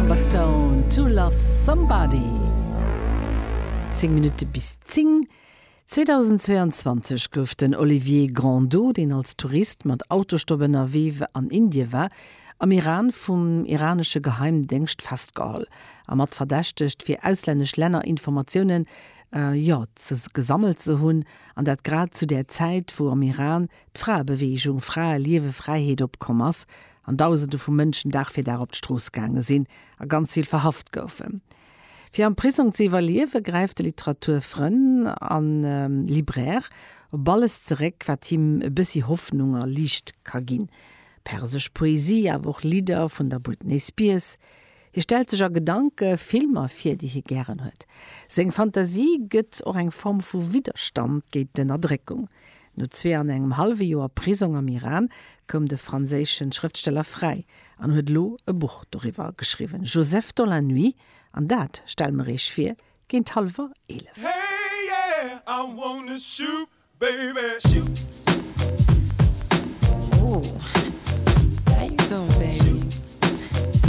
Amber Stone, To Love Somebody. 10 Minutte bis 10. 2022 gouf den Olivier Grandeau, deen als Tourist mat Autostopp ënnerwee an Indie war, am Iran vum iranesche Geheimdéngscht festgeholl a mat verdächtegt, fir auslännesch Länner Informatiounen, jo, ze gesammelt ze hunn, an dat grad zu där Zäit, wou am Iran d'Fraebeweegung Frae, Liewe, Fräiheet opkomm ass an Dausende vu Mënschen Dag fir Dag op d'Strooss gaange sinn a ganz vill verhaft goufen. Fir am Prisong ze iwwerliewe gräift de Literaturfrënn a Libraire op alles zeréck, wat him e bëssi Hoffnung a Liicht ka ginn, persesch Poesie, awer och Lidder vun der Britney Spears. Hie stellt sech a Gedanke Filmer vir, déi hie gären huet. Seng Fantasie gëtt och eng Form vu Widderstand géint d'Ënnerdréckung. No zwee an engem hallwe Joer Prisong am Iran koum de franséische Schrëftsteller fräi an huet elo e Buch doriwwer geschriwwen, Joseph dans la nuit, an dat stelle mer iech vir géint hallwer 11. Hey yeah, I wanna shoot, baby, shoot.